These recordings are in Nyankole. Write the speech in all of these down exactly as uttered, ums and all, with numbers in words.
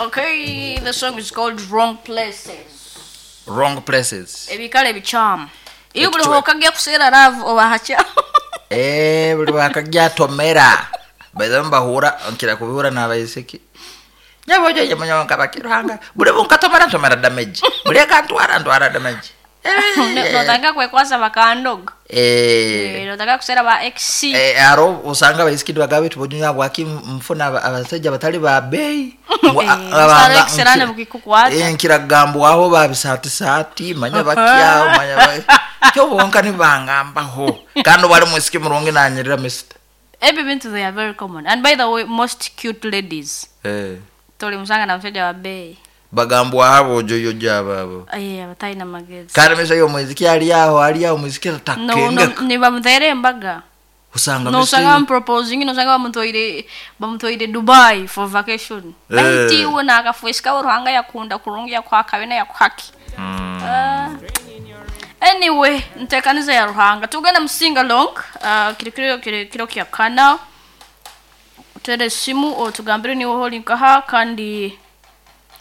Okay, the song is called Wrong Places. Wrong Places. Ebikale bikyamu. Iyo buli Ekitwe- hokagya kuseera love oba hakyamu. Eh, buli wakajja tomera. By the way, mbahura nkira kubihura n'abaisiki. Nyabo joje munyonka bakiruhanga. Buli bunkatomera ntomera damage. Buli akantwara ntwara damage. Ne- Notanga kwekwasa bakandoga. Eh. Eh, notanga kuseera ba ex. Eh, aro osanga abaisiki nibagamba biti bojunya bwaki nfuna aba- abasajja batali ba beeyi. Ngu- Eh, a- osanga abanga- ekiseraane nkira- bukikukwata. Eh, nkiragambwaho babisaatisaati manya bakyaho manya ba- kyo bonka nibangambaho kandi obu ali mwisiki murungi nanyirira misita. Ebyo bintu they are very common. And by the way, most cute ladies Eh, toli musanga na musajja wa bbeeyi. bagambwaho abojoyojo abo abo. Eh, abatalina magezi. Kandi misa y'omwiziki ali aho ali aho omwiziki No, no, atakengeka. nibamuteera embaga. Osanga Nosanga misa bamuproposing, nosanga bamutoire bamutoire Dubai for vacation. Eh. Baitiwe nakafwesikawo Ruhanga yakunda kurungi yakuhakabe yakuhaki. Ah. Anyway, ntekaniza ya Ruhanga. Tugenda mu sing along, uh, kiri kiro kiri kiro kya kana. Utere esimu otugambire niwe holi nkaha kandi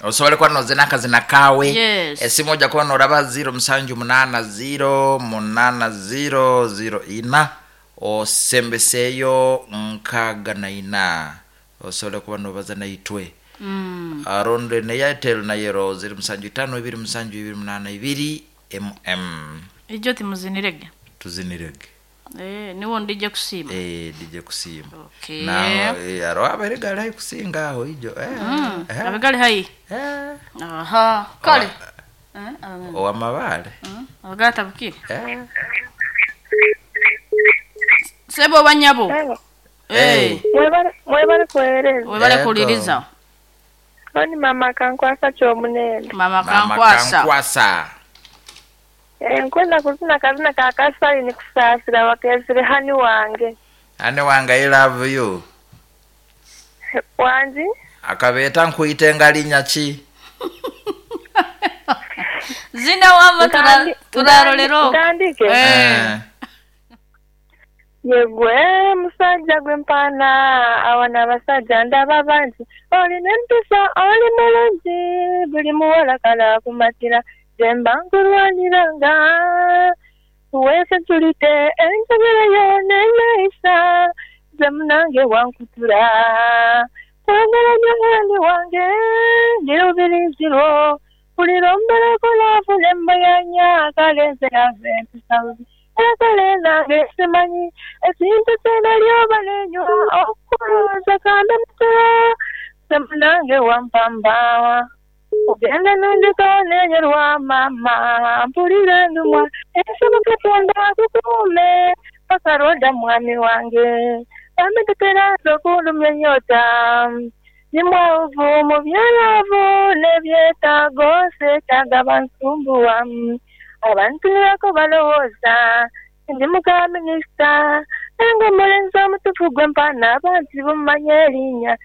osobole kuba nozina akazina kawe. Yes. Esimu ojja kuba noraba ziro musanju munana ziro munana ziro ziro ina osembeseyo nkaga na ina osobole kuba nobaza naitwe. mm, Aronde ne Airtel nayero ziro musanju itano ibiri musanju ibiri munana ibiri mm. Ijo timuzinirege. Tuzinirege. Eh, niwo ndije kusiima. Eh, dije kusiima. Okay. Na eh, aro abere gali hai kusinga aho ijo eh, Mm, eh, abigali hai. eh. Aha, kale. Eh, abigali. Owamabale. Mm, abigali tabukire. Eh. Sebo banyabo. Hello. Eh, Mwebale mwebale kuweereza. webale Yego. kuliriza. Oni mama kankwasa ky'omunene. Mama Mama kankwasa. kankwasa. Eh, nkwenda kuzina kazina ka kasali nikusaasira wakeesire hani wange. Ane wange, I love you. Wangi? Akabeeta nkuite nga linnya ki? Zina wama Ntandi- turarolera okwo. Ntandike? Eh. Ye gwe musajja gwe mpaana awana abasajja ndaba bangi olina empisa oli mulungi buli muwala kala akumatira gye mba nkulwaniranga weesentulite enjogera yo n'enneeyisa nze munange wankutula kwagala nnyo mwami wange ndi lubirizi lwo mpulira ombereko laavu ne mbayanya kale nze nava empisa bubi era kale nange simanyi ekintu kye nalyoba nenywa okulowooza kambe mutula nze munange wampambawa ogenda nondekawo nenyerwa maama mpulira endumwa ensaba Katonda akukuume paka lwodda mwami wange bambi tetera nze okulumya ennyota ndi mwavu mu byalaavu n'ebyetaago seetaaga bansumbuwa abantunulako balowooza ndi muka minisita naye ng'omulenzi omutuufu gwe mpaana abantu bamumanya erinnya.